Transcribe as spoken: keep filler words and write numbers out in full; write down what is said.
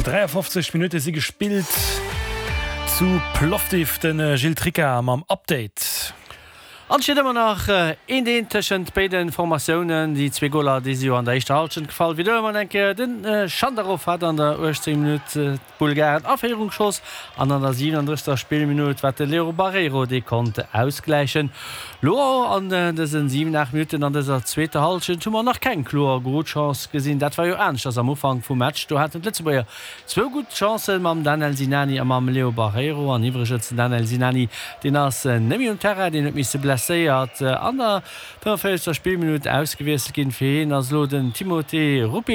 dräiafofzeg Minutte si gespillt zu Plovdiv. De Gilles Tricca mam Update. An et steet ëmmer nach eent eent tëschent béide Formatiounen. Déi zwee Goler, déi si jo an der éischter Hallschent gefall. Widderhuele mer eng Kéier, Den Schandarov hat an der uechtzéngter Minutt d'Bulgaren a Féierung geschoss an an der siwenandrëssegster Spillminutt war de Leo Barreiro, dee konnt ausgläichen. Lo an dësen siwen, aacht Minutten an dëser zweeter Hallschent hu mer nach keng kloer Golchance gesinn. Dat war jo aneschters am Ufank vum Match. Do haten d'Lëtzebuerger zwou gutt Chancen mam Danel Sinani a mam Leo Barreiro. An iwwregens, den Danel Sinani, deen ass net méi um Terrain, deen huet misse blesséiert an der fënnefenvéierzegster Spillminutt ausgewiesselt ginn. Fir hien ass elo den Timothée Ruppi